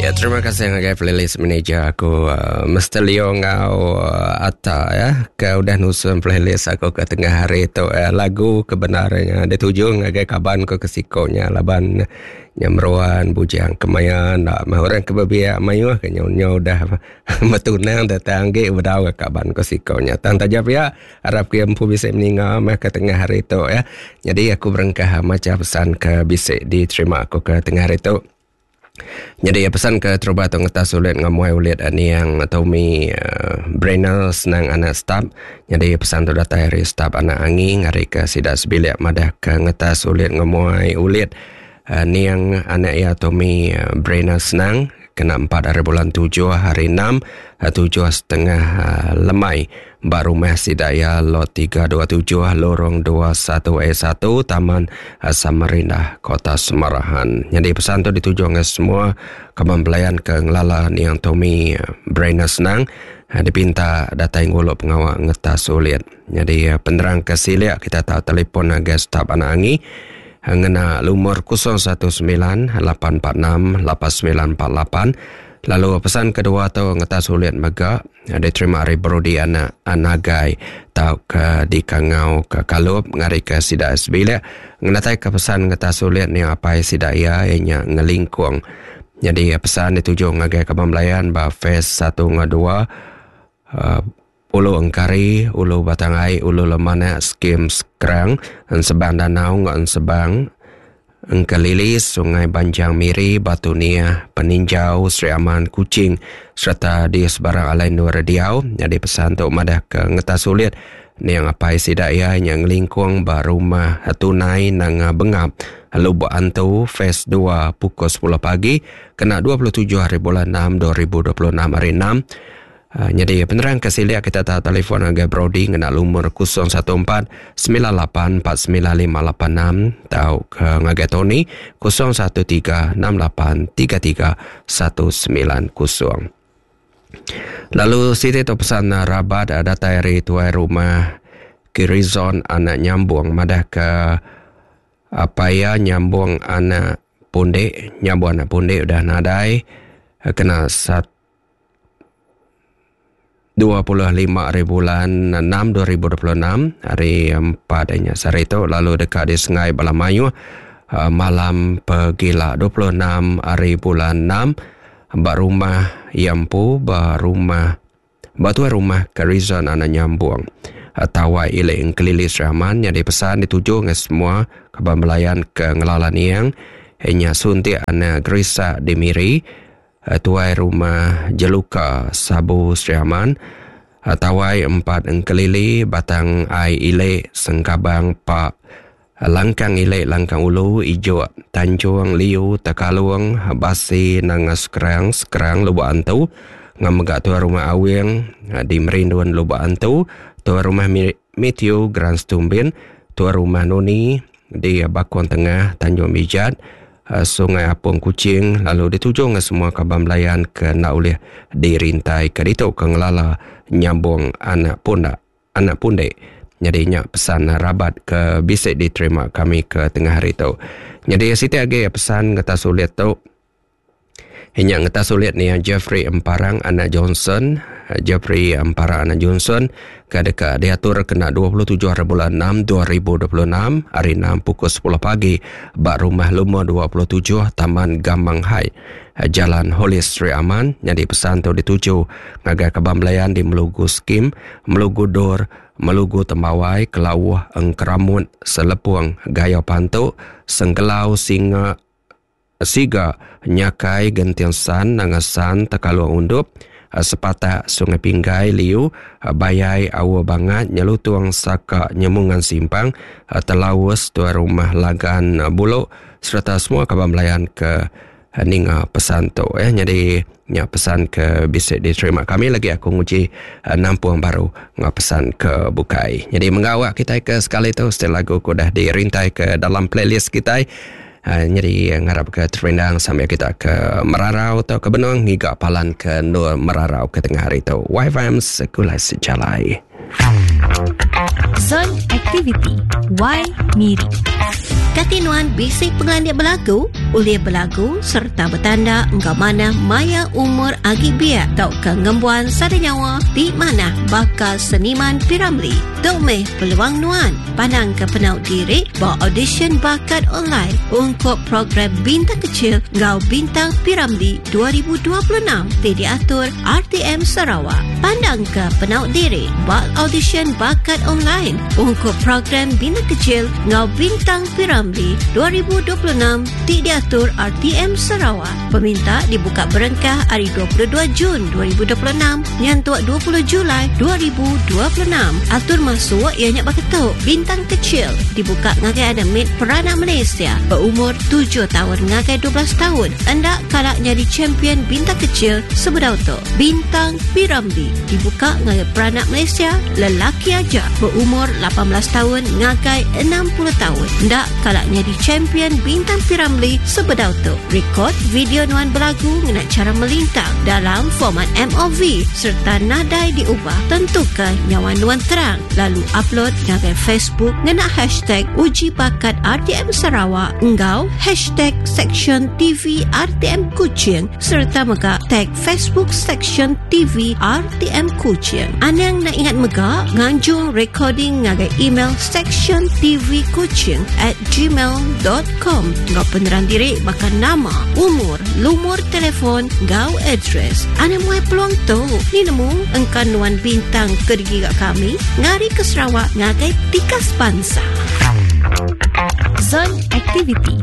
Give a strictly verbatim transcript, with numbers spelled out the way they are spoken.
Ya, terima kasih ngagai playlist manager aku uh, Mister Leo ngau uh, Atta ya ke udah nusun playlist aku ke tengah hari tu uh, lagu kebenarannya dituju ngagai kaban ko kesikonya laban nyamruan bujang kemaya nak mah orang ke bebiak mayuh ke nyo udah metunang datang ge bedau ke kaban ko sikonya tang taja pia harap ke empu bisa meninga mah ke tengah hari tu ya. Jadi aku berengkah maca pesan ke bisa diterima aku ke tengah hari tu. Jadi pesan ke terubat tu ngetas ulit ngamuai ulit ni yang Tommy uh, Brenner senang anak staf. Jadi pesan tu datang dari staf anak angi ngari ke sidak sebilik madah ke ngetas ulit ngamuai ulit uh, ni yang anak ya Tommy uh, Brenner senang kena empat hari bulan tujuh hari enam tujuh setengah uh, lemai ba rumah sidaya lot tiga dua tujuh lorong dua satu E satu Taman uh, Samarinda Kota Semarahan. Jadi pesan tu dituju dengan semua kaban pelayan ke ngelala niang Tommy uh, Brenner senang uh, dipinta datai nguluk pengawak ngetas ulit. Jadi uh, penerang ke siliak kita tahu telefon agai staf anak angi ngena lumur kosong satu sembilan lapan empat enam lapan sembilan empat lapan. Lalu pesan kedua tu ngetas ulit mega diterima ari Brody anak anagai tau ke di Kangau ke Kalup ngari ke sida sebilik ngenatai ke pesan ngetas ulit ni apai sida ia ianya ngelingkung. Jadi pesan dituju ngagai kaban belayan ba phase satu dengan dua uh, Ulu Engkari, Ulu Batangai, Ulu Lemanak, Skim Skrang, Ensebang Danau, Ensebang, Engkelili, Sungai Banjang Miri, Batu Nia, Peninjau, Sri Aman, Kuching, serta di sebarang alain luar diau. Jadi pesan tu madah ke ngetas sulit ni yang apai sidak ia yang lingkung ba rumah tunai nang bengap Lubuk Antu phase dua pukul sepuluh pagi kena dua puluh tujuh hari bulan enam dua ribu dua puluh enam hari enam. Uh, jadi penerang kesilia kita tak telefon agai Brody ngena lumur kosong satu empat sembilan lapan empat sembilan lima lapan enam atau ke ngagai Tony kosong satu tiga enam lapan tiga tiga satu sembilan kosong. Lalu siti tu pesan rabat datai dari tuai rumah Kirizon anak nyambung madah ke apa ya nyambung anak pundek nyambung anak pundek udah nadai kena sat dua puluh lima hari bulan enam dua ribu dua puluh enam hari empat nya sehari itu lalu dekat di Sungai Balamayu malam pegila dua puluh enam hari bulan enam ba rumah Yampu ba rumah batu rumah Karizon anak nyambung Tawai Ilek Engkelili Seraman yang dipesan dituju dengan semua kaban belayan ke ngelala niang nya suntik anak Grisa di Miri tuai rumah Jeluka Sabu Sri Aman Tawai empat Engkelili Batang Ai Ilek Sengkabang Pak Langkang Ilek Langkang Ulu Ijuk Tanjung Liu Tekalung Basi Nangas Kerang Sekerang Lubuk Antu Ngamegak tuai rumah Awing di Merinduan Lubuk Antu tuai rumah Matthew Grand Stumbin tuai rumah Noni di Bakon Tengah Tanjung Mijat Sungai Apung Kuching lalu dituju dengan semua kaban belayan ke nak ulih dirintai ke ditu ke ngelala nyambung anak pundak anak pundek. Jadi nya pesan rabat ke bisik diterima kami ke tengah hari tu. Jadi siti agi pesan ngetas ulit tu. Nya ngetas ulit ni Jeffrey Emparang anak Johnson, Jeffrey Emparang anak Johnson ke dekat diatur kena dua puluh tujuh hari bulan enam dua ribu dua puluh enam hari enam pukul sepuluh pagi bak rumah lumur dua puluh tujuh Taman Gamang Hai Jalan Holis Sri Aman. Jadi pesan tu dituju ngagai kaban belayan di Melugu Skim, Melugu Dor, Melugu Tembawai, Kelawuh, Engkeramut, Selepung, Gaya Pantuk, Sengkelau, Singa, Siga, Nyakai, Genting San, Nangasan, Tekalung Undup, Sepatak, Sungai Pinggai, Liu, Bayai, Awa Bangat, Nyelutung, Saka, Nyemungan Simpang, Telawus, Tuan Rumah Lagan Buluk, serta semua kaban belayan ke ninga pesan tu. Eh, jadi nya pesan ke bisik diterima kami lagi aku nguji nampung baru ngah pesan ke bukai. Jadi mengawak kita ke sekali tu setelah lagu ku dah dirintai ke dalam playlist kita. Uh, jadi ngarap ke terendang sambil kita ke Merarau atau ke Benong hingga palan ke Nur Merarau ke tengah hari tu. Y F M Sekulai Sejalai. Zon Aktiviti Y Miri. Kati nuan bisi pengelandik belagu, ulih belagu serta betanda enggau manah maya umur agi biak tauka ngembuan sada nyawa ti manah baka seniman P. Ramlee. Tu meh peluang nuan pandang ke penau diri ba audition bakat online untuk program Bintang Kecil enggau Bintang P. Ramlee dua ribu dua puluh enam ti diatur R T M Sarawak. Pandang ke penau diri ba audition bakat online untuk program Bintang Kecil enggau Bintang P. Ramlee dua ribu dua puluh enam ti diatur R T M Sarawak. Peminta dibuka berengkah hari dua puluh dua Jun dua ribu dua puluh enam nyentuk dua puluh Julai dua ribu dua puluh enam. Atur masuk ianya baketuk Bintang Kecil dibuka ngagai ada mid peranak Malaysia berumur tujuh tahun ngagai dua belas tahun. Endak kalak jadi champion Bintang Kecil sebedau tu. Bintang P. Ramlee dibuka ngagai peranak Malaysia lelaki aja berumur lapan belas tahun ngagai enam puluh tahun. Endak kalak jadi champion Bintang P. Ramlee sebedau tu. Rekod video nuan belagu ngena cara melintang dalam format M O V serta nadai diubah. Tentukan nyawa nuan terang. Lalu upload ngagai Facebook ngena hashtag Uji Bakat R T M Sarawak enggau hashtag Section T V R T M Kuching serta mega tag Facebook Section T V R T M Kuching. Anang nak ingat mega nganjung recording ngagai email section T V Kuching at gmail dot com. Ngau penerang diri bakal nama, umur, lumur telefon, ngau address. Anang muai peluang tu. Ni nemu engkan nuan bintang ke digiga kami ngari ke Sarawak ngagai tikas bangsa. Zon Aktiviti.